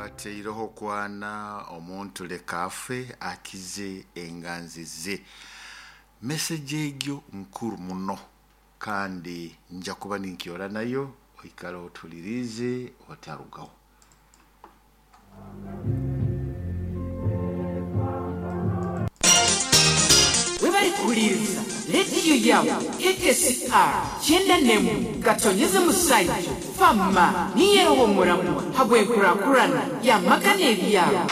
Bateireho kwana omuntu leka afe akize enganzi ze. Message egyo nkuru muno kandi nja kuba ninkyora nayo, oikale otulirize otarugaho. Webale kuhuliiriza leediyo yaawe KKCR 91 gatonyeze musaija fama niyo eroho omuramwa habw'enkurakurana y'amaka n'ebyaro.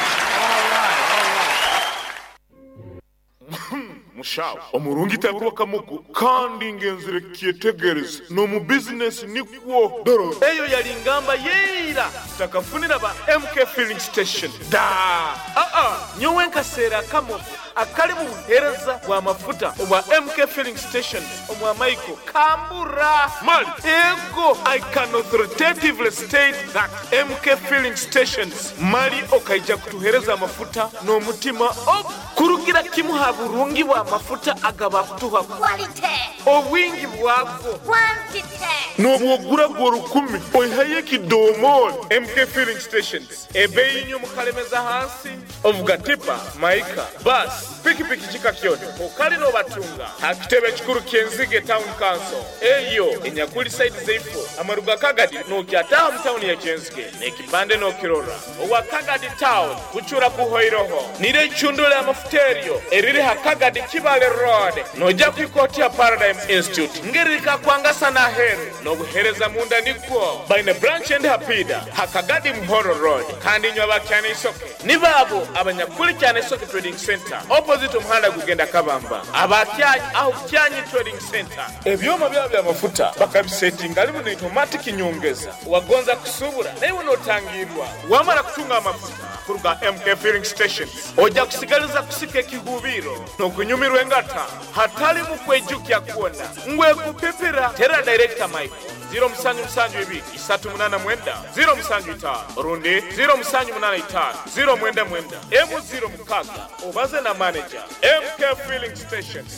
Mushaho omurungi taburwa kamogo kandi ngenzire kyetegereza n'omu bizinesi nikwo. Dora. Eyo yali ngamba y'eira tutakafunira ba MK Filling Station daa. Aa, nyowe nkaseera akamogo akali mu buheereza bw'amafuta obwa MK Filling Stations omwa Michael kambura. Mali, ego, I can authoritatively state that MK Filling Stations mali okaija kutuheereza amafuta n'omutima ogu. Kurugira kimu ha burungi bw'amafuta agabakutuha. Quality. Obwingi bwago. Quantity. N'obwogura gwo 1000 oihayo ekidomooli. MK Filling Stations ebeeyi inyo mukalemeza hansi. Ovuga tipa, maika, bus, pikipiki kika kyona okali n'obatunga ha kitebe ekikuru ky'Enzige Town Council eyo enyakuli side zeifo amaruga Kagadi n'okyataaha mu tawuni ya Kyenzige n'ekipande n'okirora. Owa Kagadi Town kucura kuhoiroho nire eicundule amafuta eryo eriri ha Kagadi Kibale Road noja kwika oti ha Paradigm Institute ngeri likakwangasa n'aheru n'obuhereza munda nikwo baine branch endi ha Piida ha Kagadi Muhoro Road kandi inywe aba Kyaneisoke nibo abo abanyakuli Kyaneisoke Trading Centre opposite omuhanda gugenda Kabamba aba Kyanyi aho Kyanyi Trading Centre ebyoma byabo by'amafuta bakabisetinga harimu na automatic nyongeza wagonza kusubura naiwe notangirwa wamara kutunga amafuta kuruga MK Filling Stations oja kusigaliza kusika ekihubiro n'okunyumirwa engata hatali mu kwejukya kwona ngwe kupipira tera director Michael ziro musanju musanju ibiri isatu munana mwenda ziro musanju itaano orundi ziro musanju munana itaano ziro mwenda mwenda emu ziro mukaga obaze na manager MK Filling Stations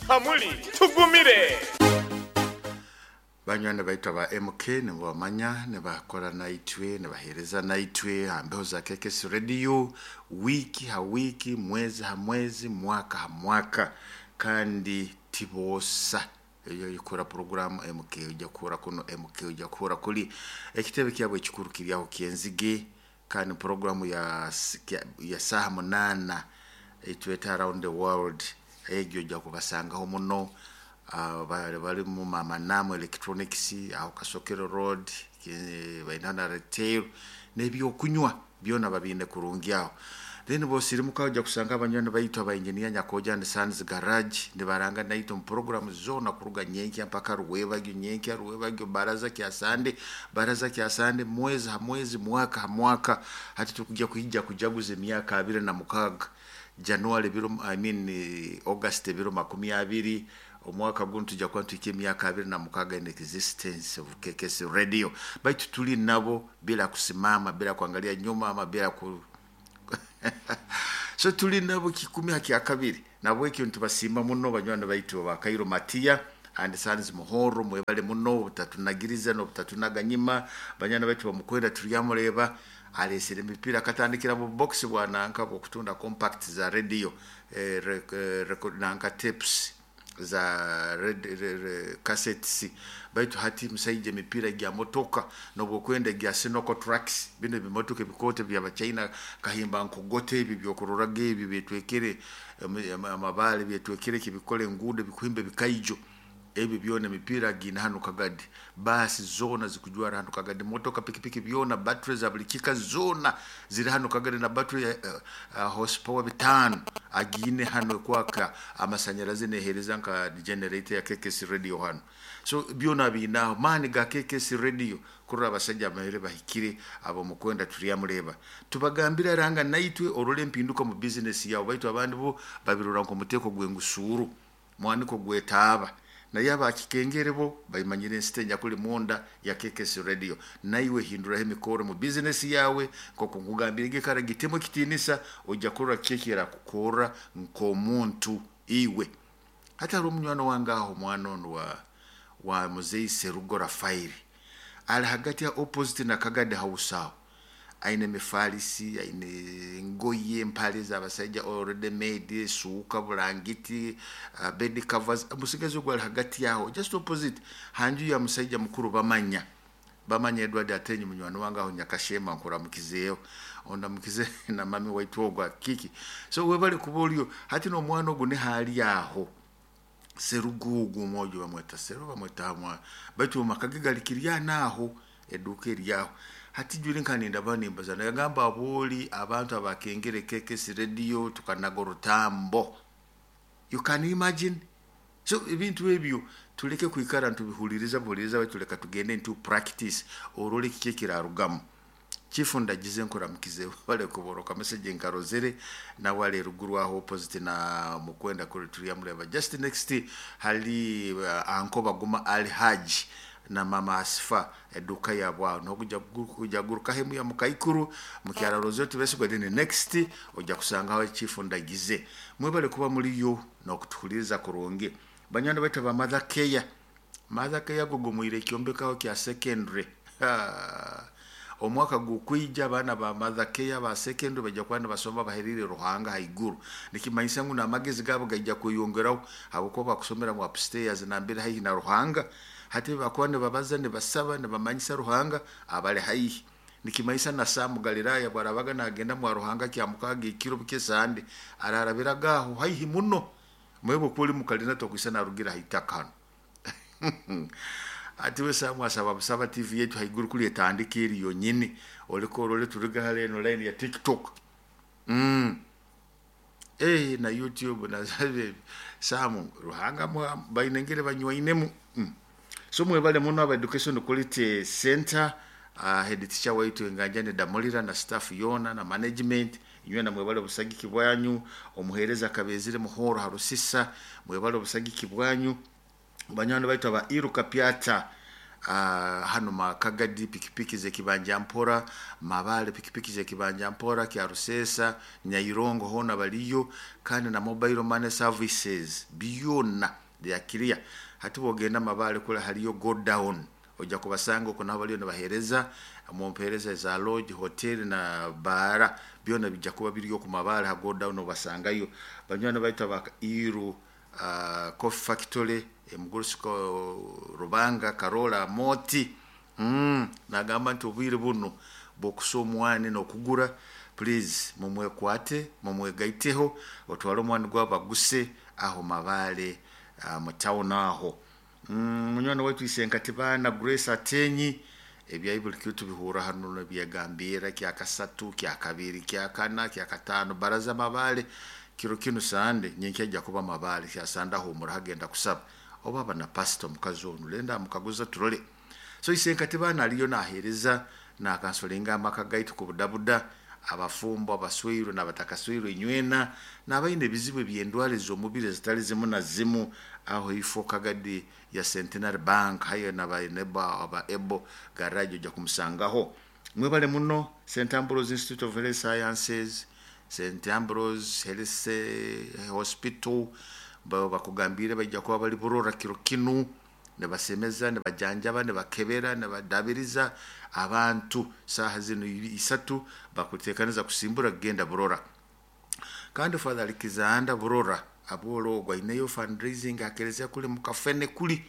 hamuli tugumire. Banywani baitu aba MK nibabamanya, nibakora naitwe, nibaheereza naitwe ha mbeho za KKC Radio wiiki ha wiiki, mwezi ha mwezi, mwaka ha mwaka, kandi tiboosa. Eyo ikora programu MK ojja kuhura kuno, MK ojja kuhura kuli. Ekitebe kyabo ekikuru kiri aho Kyenzige, kandi programu ya saaha 8 etweta Around the World, egyo ojja kubasangaho muno. Bali mu Mama Namu Electronics aho Kasokero Road, baina na retail n'ebyokunywa byona babine kurungi aho. Then bosirimuka ojja kusanga abanywani baitu aba engineer Nyakoja and Sons Garage nibaranga naitwe mu programu zona kuruga nyenkya mpaka ruwebagyo, nyenkya ruwebagyo, baraza kya Sande, baraza kya Sande, mwezi ha mwezi, mwaka ha mwaka. Hati tukujja kuhijja kujaguza emyaka 26 January biro, I mean, August biro makumi abiri omwaka guno tujja kuba tuhika emyaka 26 in existence of KKC Radio. Baitu tuli nabo bila kusimama, bila kuangalia nyuma ama bila ku so tuli nabo kikumi haki ya kabiri. Nabo ekyo nitubasimba muno banywani baitu ba Kairo Matia and Sons Muhoro, mwebale muno obutatunagiriza n'obutatunaganyima. Banywani baitu bamukwenda turyamureba alesere emipira akatandikira mu box bwa nanka bw'okutunda compact za radio, record nanka tapes za red, re, re, cassettes. Baitu hati musaije emipira gya motoka nobwokwenda gya Sinoko trucks, bino ebimotoka ebikote bya China kahimba nkogote ebi byokuroraga ebi byetwekere amabale byetwekere kibikole enguudo bikuhimba ebikaijo ebi byona emipira gina hano Kagadi, basi zona zikujwara hano Kagadi, motoka pikipiki byona battery za buli kika zona ziri hano Kagadi, na battery ya horsepower 5 agine hano kwaka amasanyarazi nehereza nka generator ya KKC Radio hano. So byona binaho mani ga KKC Radio kurora abasajja amahere bahikire abo mukwenda turyamureba tubagambira ranga naitwe orole empinduka mu business yawe. Baitu abandi bo babirora nko muteko gwengusuru mwaniko gwetaaba naye abakikengere bo baimanyire ensite nyakuli munda ya KKC Radio. Naiwe hinduraho emikoro mu business yawe nk'oku nkugambire ngekara gitemo ekitinisa ojja kurora kekera kukora nk'omuntu iwe. Hati hariho omunywani wange aho, omwana onu wa Muzei Serugo Rafaeli, ali hagati ya opposite na Kagadi House aho. Aine emifalisi, aine engoye, empale z'abasaija already made, suuka, bulangiti, bed covers. Musigazi ogwo ali hagati aho, just opposite hanju ya musaija mukuru Bamanya. Bamanya Edward Atenyi munywani wange aho Nyakashema, nkuramukizeeyo, ondamukize na mami waitu ogwo kiki. So webale kuba oliyo hati n'omwana ogu nihaali aho Serugugu, omwojo bamweta Seru, bamweta hamwa, baitu maka ge gali kiryana aho, eduuka eryaho. Hati juli nka nimbaza nagamba abooli abantu abakengere KKS Radio tukanaga orutambo. You can imagine. So ebintu ebyo tuleke kwikara ntubihuliriza buhuliriza, baitu tuleka tugende into practice, orole kiki ekirarugamu. Chief Ndagize, nkuramukize, bale kuboroka message nkarozere nawe ali ruguru aho opposite na Mukwenda kuri turiyamureba just next hali anko Baguma Ali Haji na mama Asifa, eduka yabwe aho nokujja kujaguruka hemu ya mukaikuru mukyala Roseto Besigwa, then next ojja kusangaho Chief Ndagize. Mwebale kuba muliyo n'okutuhuliriza kurungi. Banywani baitu ba Mother Care, Mother Care gugumwire ekyombekaho kya secondary. Omwaka gukwija abaana ba Mother Care ba secondary bajja kuba nibasoma baherire Ruhanga haiguru, nikimanyisa ngu n'amagezi gaabo gaija kweyongeraho habwokuba bakusomera mu upstairs nambere haihi na Ruhanga. Hati bakuba nibabaza, nibasaba, nibamanyisa Ruhanga abali haihi, nikimanyisa na Samu Galilaya bwarabaga nagenda mwa Ruhanga kyamukaga ekiro bukesande ararabiraga aho haihi muno. Mwebwe kuli mukalina tokwisa narugira haitaka hano. Ati we Samu asaba busaba TV yetu haiguru kuli etandika eri yonyini, oliko orole turiga hale eno line ya TikTok na YouTube na Samu Ruhanga bainengere banywainemu. So mwebale muno aba Education Quality Center, head teacher waitu Enganjane Damulira na staff yona na management inywe, na mwebale obusagiki bwanyu. Omuhereza Kabezire Muhoro Harusisa, mwebale obusagiki bwanyu. Banywani baitu aba Iruka Pyata, hano Makagadi pikipiki zekibanja mpora, Mabale pikipiki zekibanja mpora, Kyarusesa, Nyairongo hona baliyo, kandi na mobile money services byona lyakiria. Hati bwogenda Mabale kula haliyo go down, ojja kubasanga okwo nabo baliyo nibahereza mumpereza za lodge, hotel na bara, byona bijja kuba biriyo ku Mabale ha go down obasangayo. Banywani baitu aba Iru Coffee Factory, Emugurusiko Rubanga Karola Moti, nagamba nti obwire buno bwokusa omwani n'okugura, please mumwekwate, mumwegaiteho, otwale omwani gwabaguse aho Mabale, mu town aho. Munywani waitu Isenkatibana Grace Atenyi, ebyayi buli kitu tubihura hano nebyagambira kyakasatu, kyakabiri, kyakana, kyakatano, baraza Mabale kiro kino sande nyenkya ajja kuba Mabale kyasanda humura hagenda kusaba oba bana pastor mukazi ono lenda mukaguza turole. So Isenkatibana aliyo nahereza nakansolenga amaka gaitu ku budabuda, abafumbo, abaswiru n'abatakaswiru inywena n'abaine ebizibu eby'endwara ez'omubiri ezitali zimu na zimu aho ifo kagadi ya Centenary Bank hayo n'abaneba aba Ebo garage ojja kumusangaho. Mwebale muno St Ambrose Institute of Health Sciences, St Ambrose Health Hospital, bakugambire bajja kuba bali burora kiro kinu, nibasemeza, nibajanjaba, nibakebera, nibadabiriza abantu saha zino isatu bakutekaniza kusimbura kugenda burora. Kandi Father Alexander burora abolo ogwo aineyo fundraising akerezea kuli mukafene kuli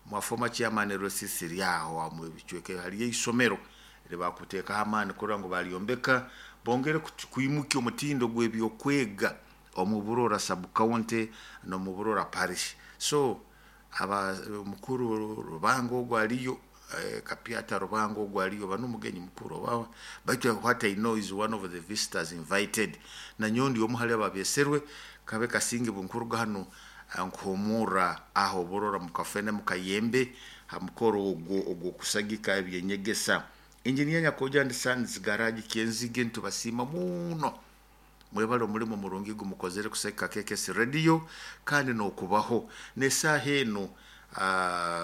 mwafoma chairman Rosisi ryaho amwe bicweke haliyo isomero libakuteekaho amaani kurora ngu balyombeka bongere kwimukia omutindo gw'ebyokwega omu Burora sub county n'omu Burora parish. So aba mukuru Rubanga ogwo aliyo, Kapyata Rubanga ogwo aliyo bano omugenyi mukuru oba, baitu what I know is one of the visitors invited, na nyondi omu hali ababeserwe kabe kasinge bunkuruga hano nkuhumura aho Burora mukafene mukayembe ha mukoro ogwo ogwo kusagika ebyenyegesa. Engineer Nyakoja and Sons garage Kyenzige, ntubasiima muno, mwebale omulimu murungi gumukozere kuseka KKS Radio kandi n'okubaho n'esaaha eno.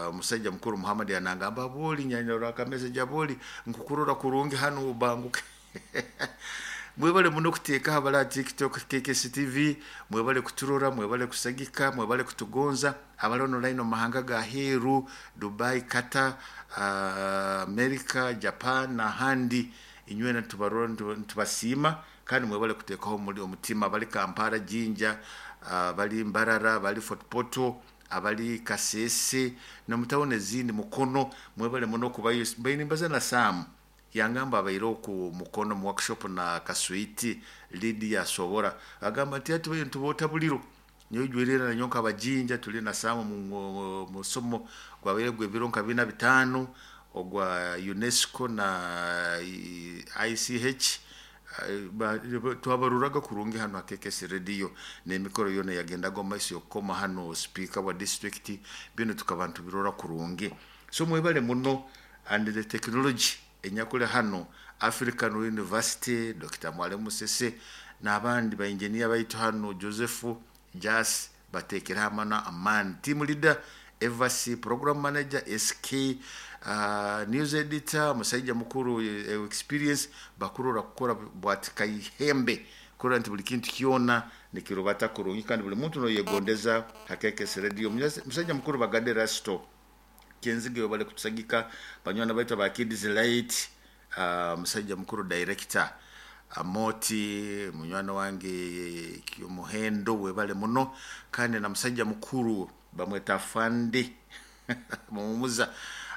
Omusajja mukuru Muhammad anangamba boli nyanyora akamessage aboli nkukurora kurungi hano ubanguke. Mwebale muno kuteeka abala TikTok KKS TV, mwebale kuturora, mwebale kusagika, mwebale kutugonza abali online mu mahanga ga heru, Dubai, Qatar, America, Japan n'ahandi. Inywena nitubarora, nitubasiima kandi mwebale kuteekaho muri omutima. Bali Kampala, Jinja, bali Mbarara, bali Fort Portal, abali Kasese nomutawuni ezindi, Mukono, mwebale muno kubayo. Mbaine mbaza na Sam, yangamba abaire oku Mukono mu workshop na Kaswiti Lydia Sobora, agamba nti ati bayo nituboota buliro nyoijwerera nanyo nkabajinja. Tuli na Sam mu musomo gwabaire gw'ebiro nka 4 5 ogwa UNESCO na ICH. Twabaruraga kurungi hano hakekesi radio n'emikoro yona yagendaga omu maiso yokukoma hano speaker wa district, bino tukaba ntubirora kurungi. So mwebale muno. And the technology enyakuli hano African University, Dr. Mwalimu Sese n'abandi ba engineer baitu hano, Joseph Jas, batekeraho amana amani, team leader Evasi, program manager SK, news editor musajja mukuru, experience bakurora kukora bwati kaihembe kurora nti buli kintu kyona nikirubata kurungi kandi buli muntu noyegondeza hakekesi radio. Musajja mukuru Bagade Rasto Kenzige, bali kutusagika. Banywana baitu ba Kids Light, musajja mukuru director Amoti, munywana wange Muhendo, webale muno. Kandi na musajja mukuru bamweta Fandi Mumuza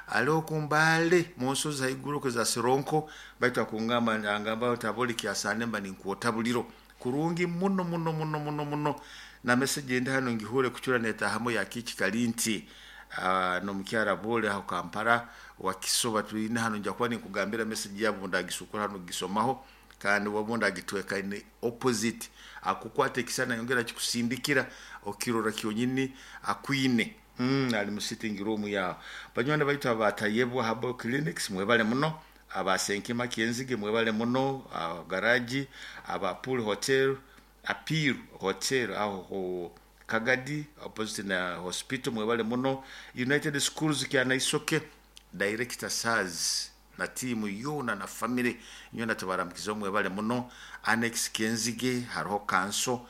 aliho kumbale munsozi haiguru kuza Sironko, baitu akungamba angamba taboli kyasane mba ninkuota buliro kurungi muno muno muno muno muno. Na message ndi hano ngihure kuchura netahamu ya kichi kalinti, nomukyara bole aho Kampala wakisoba tuline hano, nja kuba ninkugambira message yabo ndagisukura hano gisomaho kandi wabunda agitweka ni opposite akukwata ekisana yongera kikusindikira okirora kyonyini akwine. Ali mu sitting room yawo. Banywana baitu abatayebwa Herbal Clinics, mwebale muno. Abasenkima Kenzige, mwebale muno. Garaji aba Pool Hotel, Appeal Hotel aho ho Kagadi opposite na hospital, mwebale muno. United Schools Kyanaisoke, director Saz na timu yona na family yona tubaramukiza, mwebale muno. Annex Kenzige hariho kanso,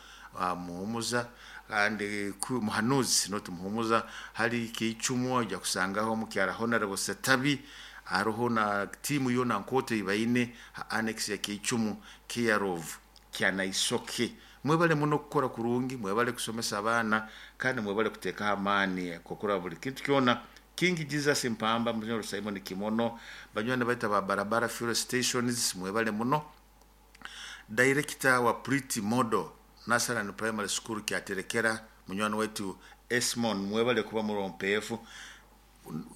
Muhumuza kandi Muhanuzi, not Muhumuza, hari Kichumu ojja kusangaho mukyara Honorable Setabi, hariho na timu yona nkote ibaine ha annex ya Kichumu care of Kyanaisoke. Mwebale muno kukora kurungi, mwebale kusomesa abaana kandi mwebale kuteekaho amaani kukora buli kintu kyona. King Jesus Mpamba, Munyoro Simon Kimono, banywani baita ba Barabara Fuel Stations, mwebale muno. Director wa Pretty Model Nasaran Primary School Kyaterekera, munywani wetu Esmon, mwebale kuba murompeefu.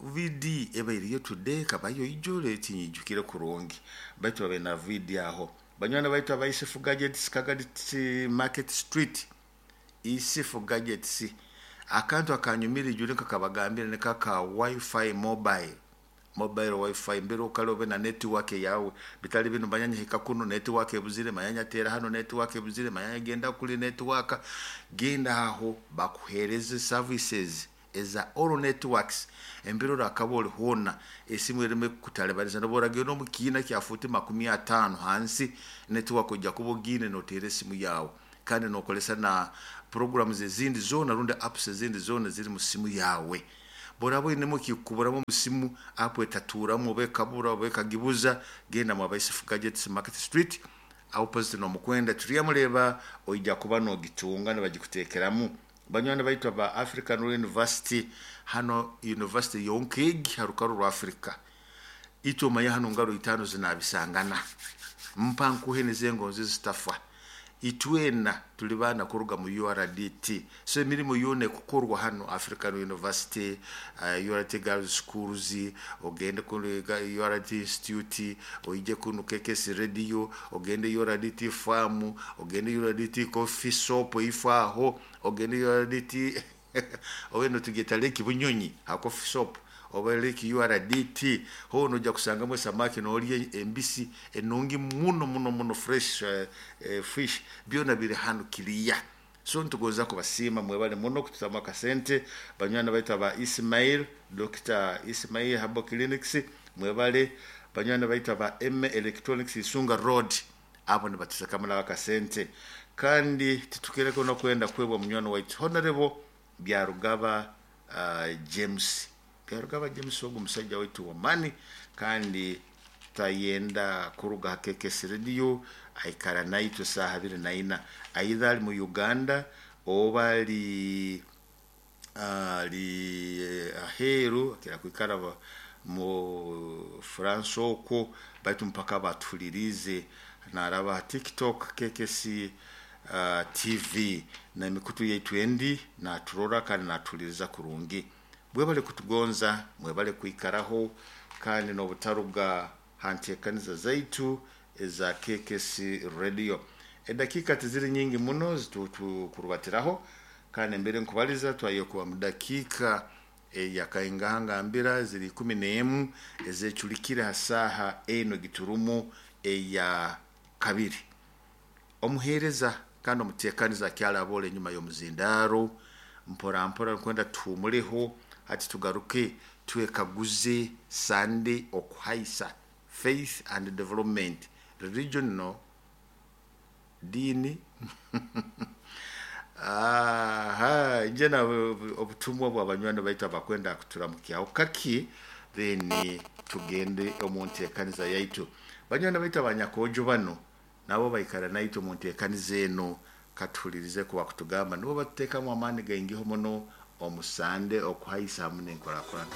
VD ebairiyo today kabayo ijole tinyijukire kurungi, baitu babe na VD aho. Banywani baitu abaisifu Gadgets, Kagadi Market Street, Isifu Gadgets, akantu akanyumira ijule kakabagambira ne kaka wifi mobile, mobile wifi mbere okale obe na network yawe, bitali bino manyanya hika kuno network ebuzire, manyanya tera hano network ebuzire, manyanya genda kuli network, genda aho bakuhereze services eza all networks. Embere orakaba ori hoona esimu ereme kukutalibaniza noba oragenda omu kiina kya futi 50 hansi, network ojja kuba ogiine noteera esimu yawe kandi nokolesa na programs ezindi zoona rundi apps ezindi zoona ziri mu simu yawe. Boraba oinemu kikuburamu omu simu, app etaturamu oba ekabura oba ekagibuza, genda mu Abaisifu Gadgets Market Street opposite nomukwenda turyamureba, oija kuba nogitunga nibagikuteekeramu. Banywani baitu aba African University hano, university yonkegi harukaru rwa Africa, itwe omanye hano ngaro 5 zinabisangana mpa nkuhe nizengonzi zitafa. Itwena tuli baana kuruga mu URDT, so emirimu yona ekukorwa hano African University, URT Girls Schools, ogende ku URT Institute, oije kuno KKS Radio, ogende URDT Farm, ogende URDT Coffee Shop ifaaho, ogende URDT ogende tugeta Lake Bunyonyi ha coffee shop oba Lake URDT, hono ojja kusangamu esamaki noolya embisi enungi muno muno muno, fresh fish, byona biri hano kiriya. So nitugonza kubasiima, mwebale muno kututamu akasente. Banywani baitu aba Ismail, Dr. Ismail Herbal Clinics, mwebale. Banywani baitu aba M Electronics Isunga Road, abo nibatusekamu nabo akasente. Kandi titukereko nokwenda kwebwa munywani waitu Honorable Byarugaba, James Byarugaba James, ogu musajja waitu wamani kandi Tutayenda kuruga ha KKS Radio, aikara naitwe saaha 24, aidha ali mu Uganda oba ali aheeru, akira kwikara mu France okwo, baitu mpaka batuhulirize naraba ha TikTok KKC TV na emikutu yaitu endi, naturora kandi natuhuliriza kurungi. Mwebale kutugonza, mwebale kwikaraho kandi n'obutaruga ha nteekaniza zaitu eza KKC Radio. Edakika tiziri nyingi muno zitukurubatiraho, kandi mbere nkubaliza twaye kuba mu dakiika eyakaingahangambira ziri 11 ezeculikire ha saaha eno giturumu eya kabiri. Omuheereza kandi omuteekaniza akyalaboola enyuma y'omuzindaaro, mpora mpora nkwenda tuhumuleho hati tugaruke twekaguze Sunday okuhaisa faith and development, religion no diini. Aha nje na obutumwa bw'abanywani baitu abakwenda kuturamukyaho kaki, then tugende omu nteekaniza yaitu. Banywani baitu abanyakojo bano nabo baikara naitwe omu nteekaniza eno, katuhulirize kuba kutugamba nibo batuteekamu amaani gaingiho muno omu Sande okuhaisa hamu n'enkurakurana.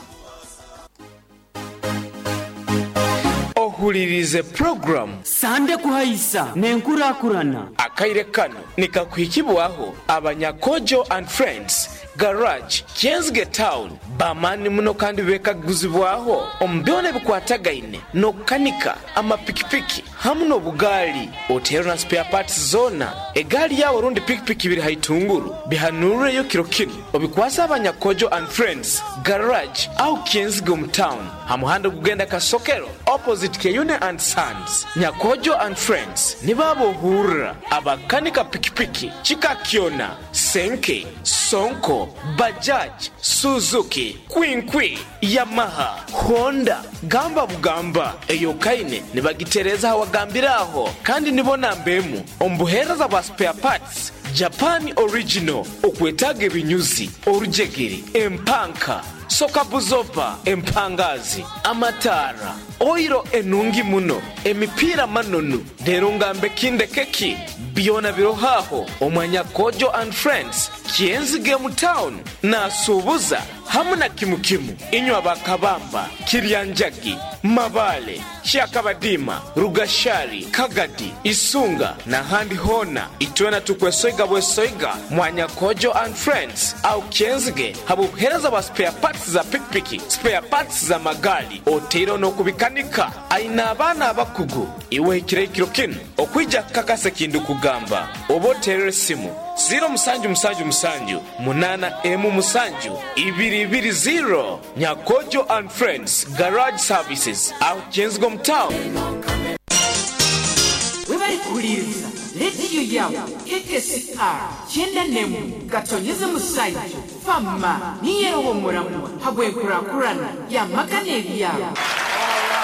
Ohuliriize puroguramu. Sande Kuhaisa n'Enkurakurana. Akaire kano nikakuhikibwaho aba Nyakojo and Friends Garage, Kyenzige Town. B'amaani muno kandi beekaguzibwaho omu byona ebikwatagaine n'okukanika amapikipiki hamu n'obugaali. Oteerwe na spare parts zoona. Egaali yaawe rundi pikipiki biri ha itunguru, bihanuureyo kiro kinu obikwase aba Nyakojo and Friends Garage aho Kyenzige omu town ha muhanda ogugenda Kasokero opposite Kyeyune and Sons. Nyakojo and Friends nibo abohurra abakanika pikipiki kika kyona, Senke, Sonko, Bajaj, Suzuki, Kwinkwi, Yamaha, Honda, gamba bugamba eyokaine nibagitereeza hawagambire aho, kandi nibo namba emu omu buheereza bwa spare parts Japan original okwetaaga ebinyuzi, orujegere, empanka, sokabuzopa, empangazi, amataara, oiro enungi muno, emipiira manonu, reero ngambe kindeke ki? Byona biroho aho omwa Nyakojo and Friends, Kyenzige mu town, nasuubuza hamu na kimu kimu. Inywe aba Kabamba, Kiryanjagi, Mabaale, Kyakabadiima, Rugashari, Kagadi, Isunga n'ahandi hoona, itwena tukwesoiga bwesoiga mwa Nyakojo and Friends aho Kyenzige habw'obuheereza bwa spare parts za pikipiki, spare parts za magaali oteireho n'okubikanika. Aine abaana abakugu. Iwe hikire ekiro kinu okwija kukakasa eki ndikugamba, oba oteerere esimu ziiro musanju musanju musanju munaana emu musanju ibiri ibiri ziiro. Nyakojo and Friends Garage Services aho Kyenzige omu town. Webale kuhuliiriza leediyo yaawe KKCR 91 Gatonyeze Musaija Fama niyo eroho omuramwa habw'enkurakurana y'amaka n'ebyaro.